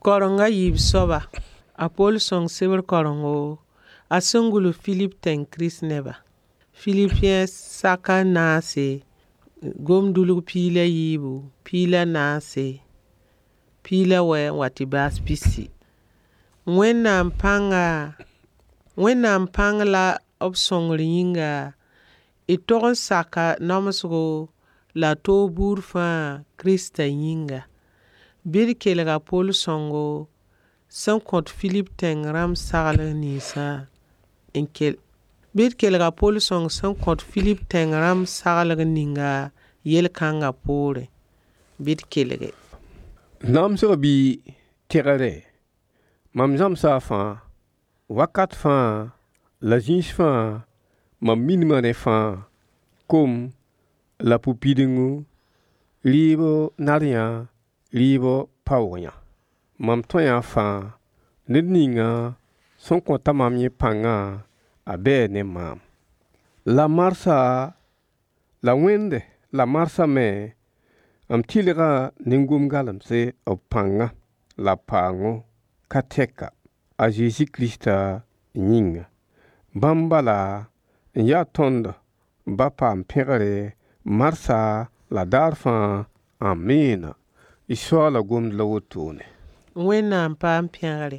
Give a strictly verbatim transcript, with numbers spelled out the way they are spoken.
Karenga yiib soaba, a Pol sõng sebr karengo a sẽn gʋls Filip tẽng Kirist neba. Philipien saka naase, gom-dulg piig la yiibu, piig la naase, piig la wɛ n wa tɩ baas pisi. Wẽnnaam pãnga, Wẽnnaam pãng la b sõngr yĩnga, y tog n saka namsgo la toog buud fãa Kirista yĩnga. Bɩ d kelg a Pol sõngo sẽn kõt Filip tẽng rãmb saglg ninsã n kel bɩ d kelg a Pol sõng sẽn kõt Filip tẽng rãmb saglg ninga yel-kãngã poorẽ. Bɩ d kelge. Namsg bɩ tẽgre mam zãmsa fãa wakat fãa la zĩis fãa mam minima rẽ fãa kom la pʋ-pidengu rɩɩb nar yã rɩɩb paoog yã mam tõe fãa ned ninga sẽn kõta mam yẽ pãngã a bɛɛ ne maam. La marsã la Wẽnde la marsã me m tɩlga ne gom-galemse b pãnga la b paoongo ka tɛka a Zezi Kirista yĩnga. Bãmb bala n yaa tõnd ba paam pẽgre marsã la daar fãa. Amiina. Y Soaala gomd la wotone. Wẽnnaam paam pẽgre.